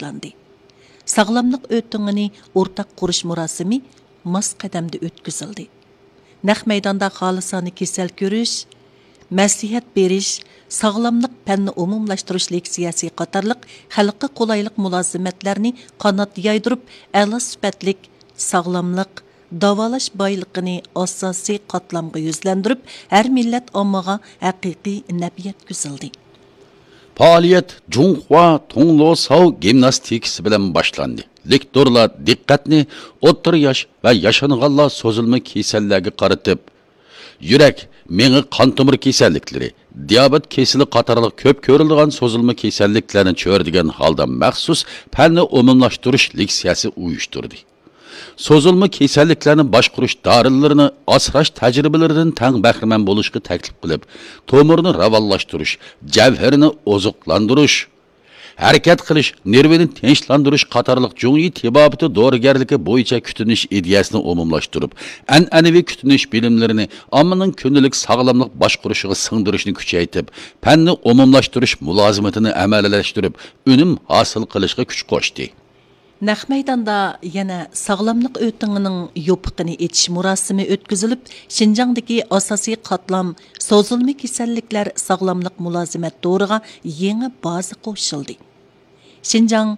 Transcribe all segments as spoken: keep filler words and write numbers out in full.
باشلاندى. ساغلاملىق ئۆتۈڭىنى ئورتاق قۇرۇش مۇراسىمى ماس قەدەمدە ئۆتكۈزۈلدى. نەق مەيداندا خالىسانە كېسەل كۆرۈش، مەسلىھەت بېرىش، ساغلاملىق پەننى ئومۇملاشتۇرۇش لېكسىيەسى قاتارلىق خەلققە قولايلىق مۇلازىمەتلەرنى قانات يايدۇرۇپ، ئەلا سۈپەتلىك ساغلاملىق، داۋالاش بايلىقىنى ئاساسىي قاتلامغا يۈزلەندۈرۈپ، ھەر مىللەت ئاممىغا ھەقىقىي نەپ يەتكۈزۈلدى. پائالىيەت جۇڭخۇا تۇڭلوساۋ گىمناستىكىسى بىلەن باشلاندى. لېكتورلار دىققەتنى ئوتتۇرا ياش ۋە ياشانغانلار سوزۇلما كېسەللەرگە قارىتىپ، يۈرەك، مېڭە، قان تومۇر كېسەللىكلىرى، دىيابېت كېسىلى قاتارلىق كۆپ كۆرۈلىدىغان سوزۇلما كېسەللىكلەرنى چۆرىدىگەن ھالدا مەخسۇس پەننى ئومۇملاشتۇرۇش لېكسىيەسى ئۇيۇشتۇردى. سوزۇلما كېسەللىكلەرنى باشقۇرۇش دارىلىرىنى ئاسراش تەجرىبىلىرىدىن تەڭ بەھرىمەن بولۇشقا تەكلىپ قىلىپ، تومۇرنى راۋانلاشتۇرۇش، جەۋھىرىنى ئوزۇقلاندۇرۇش، ھەرىكەت قىلىش، نېرۋىنى تىنچلاندۇرۇش قاتارلىق جۇڭيى تېبابىتى دورىگەرلىكى بويىچە كۈتۈنۈش ئىدىيەسىنى ئومۇملاشتۇرۇپ، ئەنئەنىۋى كۈتۈنۈش بىلىملىرىنى ئاممىنىڭ كۈندىلىك ساغلاملىق باشقۇرۇشىغا سىڭدۈرۈشنى كۈچەيتىپ، پەننى ئومۇملاشتۇرۇش مۇلازىمىتىنى ئەمەلىيلەشتۈرۈپ، ئۈنۈم ھاسىل قىلىشقا كۈچ قوشتى. نەق مەيداندا يەنە ساغلاملىق ئۆتىڭىنىڭ يوپۇقىنى ئېچىش مۇراسىمى ئۆتكۈزۈلۈپ، شىنجاڭدىكى ئاساسىي قاتلام سوزۇلما كېسەللىكلەر ساغلاملىق مۇلازىمەت تورىغا يېڭى بازا قوشۇلدى. شىنجاڭ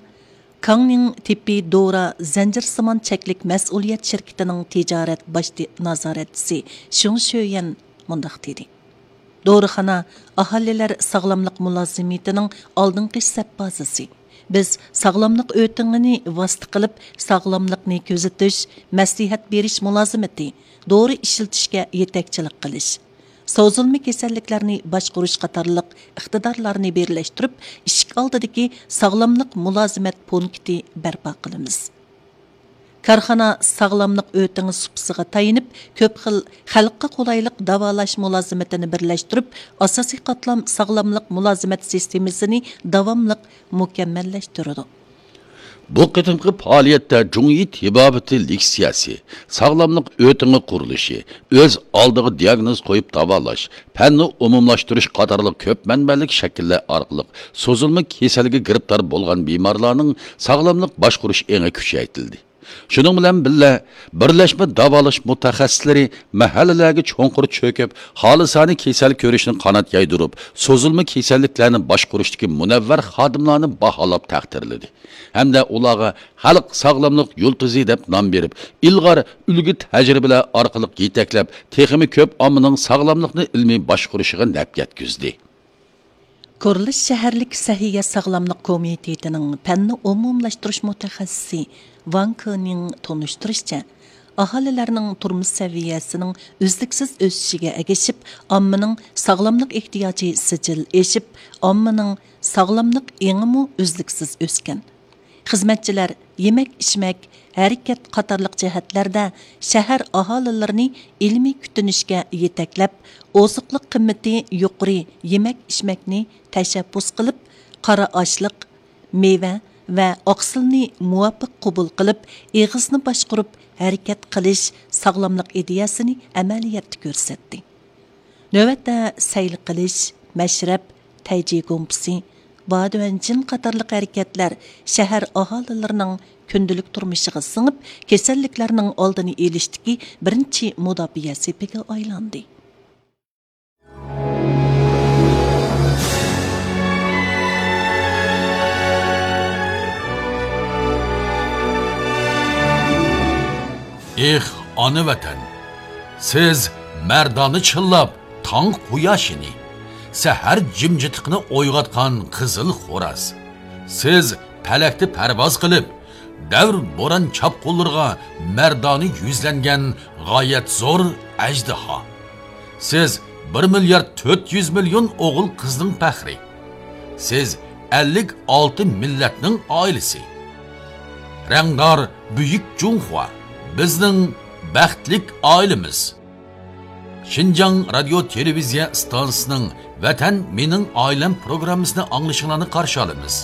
كاڭنىڭ تېببىي دورا زەنجىرسىمان چەكلىك مەسئۇلىيەت شىركىتىنىڭ تىجارەت باش نازارەتچىسى شېڭ شۆيۈەن مۇنداق دېدى. دورىخانا ئاھالىلەر ساغلاملىق مۇلازىمىتىنىڭ ئالدىنقى سەپ بازىسى. بىز ساغلاملىق ئۆتىڭىنى ۋاسىتە قىلىپ، ساغلاملىقنى كۆزىتىش، مەسلىھەت بېرىش مۇلازىمىتى، دورا ئىشلىتىشكە يېتەكچىلىك قىلىش، سوزۇلما كېسەللىكلەرنى باشقۇرۇش قاتارلىق ئىقتىدارلارنى بىرلەشتۈرۈپ، ئىشىك ئالدىدىكى ساغلاملىق مۇلازىمەت پونكىتى بەرپا قىلىمىز. كارخانا ساغلاملىق ئۆتىڭى سۇپىسىغا تايىنىپ، كۆپ خىل خەلققە قولايلىق داۋالاش مۇلازىمىتىنى بىرلەشتۈرۈپ، ئاساسىي قاتلام ساغلاملىق مۇلازىمەت سىستېمىسىنى داۋاملىق مۇكەممەللەشتۈرىدۇ. بۇ قېتىمقى پائالىيەتتە جۇڭيى تېبابىتى لېكسىيەسى، ساغلاملىق ئۆتىڭى قۇرۇلۇشى، ئۆز ئالدىغا دىياگنوز قويۇپ داۋالاش، پەننى ئومۇملاشتۇرۇش قاتارلىق كۆپ مەنبەلىك شەكىللەر ئارقىلىق سوزۇلما كېسەلگە گىرىپتار بولغان بىمارلارنىڭ ساغلاملىق باشقۇرۇش ئېڭى كۈچەيتىلدى. شۇنىڭ بىلەن بىللە، بىرلەشمە داۋالاش مۇتەخەسسىسلىرى مەھەللىلەرگە چوڭقۇر چۆكۈپ، خالىسانە كېسەل كۆرۈشنى قانات يايدۇرۇپ، سوزۇلما كېسەللىكلەرنى باشقۇرۇشتىكى مۇنەۋۋەر خادىملارنى باھالاپ تەقدىرلىدى ھەمدە ئۇلارغا خەلق ساغلاملىق يۇلتۇزى دەپ نام بېرىپ، ئىلغار ئۈلگە تەجرىبىلەر ئارقىلىق يېتەكلەپ، تېخىمۇ كۆپ ئاممىنىڭ ساغلاملىقنى ئىلمىي باشقۇرۇشىغا نەپ يەتكۈزدى. كورلىس شەھەرلىك سەھىيە ساغلاملىق كومىتېتىنىڭ پەننى ئومۇملاشتۇرۇش مۇتەخەسسىسى ۋاڭ كېنىڭ تونۇشتۇرۇشىچە، ئاھالىلەرنىڭ تۇرمۇش سەۋىيەسىنىڭ ئۈزلۈكسىز ئۆسۈشىگە ئەگىشىپ، ئاممىنىڭ ساغلاملىق ئېھتىياجى سىجىل ئېشىپ، ئاممىنىڭ ساغلاملىق ئېڭىمۇ ئۈزلۈكسىز ئۆسكەن. خىزمەتچىلەر يېمەك-ئىچمەك، ھەرىكەت قاتارلىق جەھەتلەردە شەھەر ئاھالىلىرىنى ئىلمىي كۈتۈنۈشكە يېتەكلەپ، ئوزۇقلۇق قىممىتى يۇقىرى يېمەك-ئىچمەكنى تەشەببۇس قىلىپ، قارا ئاشلىق، مېۋە ۋە ئاقسىلنى مۇۋاپىق قوبۇل قىلىپ، ئېغىزنى باشقۇرۇپ ھەرىكەت قىلىش ساغلاملىق ئىدىيەسىنى ئەمەلىيەتتە كۆرسەتتى. نۆۋەتتە سەيلە قىلىش، مەشرەپ، تەيجى گۇمپىسى، بادۇەنجىن قاتارلىق ھەرىكەتلەر شەھەر ئاھالىلىرىنىڭ كۈندىلىك تۇرمۇشىغا سىڭىپ، كېسەللىكلەرنىڭ ئالدىنى ئېلىشتىكى بىرىنچى مۇداپىئە سېپىگە ئايلاندى. ئېھ، ئانا ۋەتەن! سىز مەردانە چىللاپ تاڭ قۇياشىنى، سەھەر جىمجىتلىقىنى ئويغاتقان قىزىل خوراز. سىز پەلەكتە پەرۋاز قىلىپ، دەۋر بوران چاپقۇنلىرىغا مەردانە يۈزلەنگەن غايەت زور ئەجدىھا. سىز بىر مىليارد تۆت يۈز مىليون ئوغۇل قىزنىڭ پەخرى. سىز ئەللىك ئالتە مىللەتنىڭ ئائىلىسى. رەڭدار بۈيۈك جۇڭخۇا، بىزنىڭ بەختلىك ئائىلىمىز. شىنجاڭ رادىيو تېلېۋىزىيە ئىستانسىسىنىڭ ۋەتەن مېنىڭ ئائىلەم پروگراممىسىنى ئاڭلىشىڭلارنى قارشى ئالىمىز.